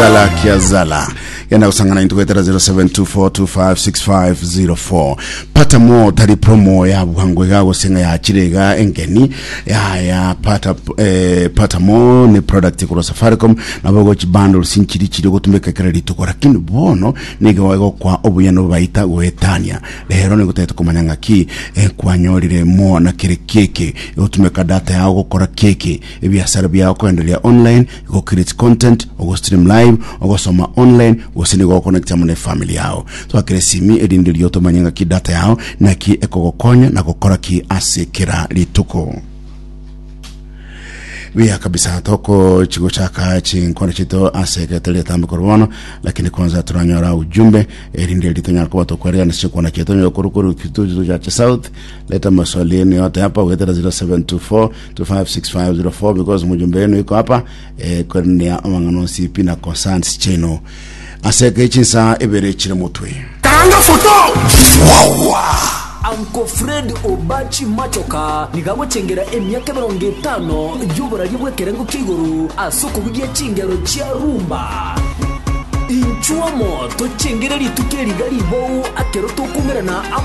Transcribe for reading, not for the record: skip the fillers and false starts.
Kiazala kiazala genda gosangana intwe goetera 0724256504 pata mo tari promo ya bwango iga gose ng'a yachire iga engeni yaya pata eh, pata mo ni product korwa Safaricom nabo gochi bundles nchiri chiri gotumeka kera rituko lakini bono nigo egokwa obuya nobaita goetania rero nigo tagete komanya ng'aki eh, kwanyorire mo na kere keke egotumeka data yao gokora keke Ebiasara biao koendereria online, go create content, ogo stream live, ogosoma online, gose nigo goconnect amo ne family yao. Twakere esimi erinde erio tomanye ng'aki data yao naki ekogokonya na gokora ki ase kera rituko. Buya kabisa tokochi gochaka chinkwana chiaito ase egetari etambe korwa bono lakini kwanza turanyora ujumbe erinde eri tonyara koba tokweregana chinkwana chiaito onye korwa korwa kituo chache south leta maswali yenu yote hapa goetera 0724 256504 because mujumbe wenu iko hapa eh, kwenea amang'ana onsi pi na concerns chenu ase eke chinsa ibere chire motwe Karanga foto! Wawa! Uncle Fred Obachi Machoka nigo agochengera emiaka emerongo etano y'oboraria bw'ekerengo kia igoro ase okobugia chingero chia rumba. Inchuo amo tochengere rituko eri iga ribou akero tokumerana amo.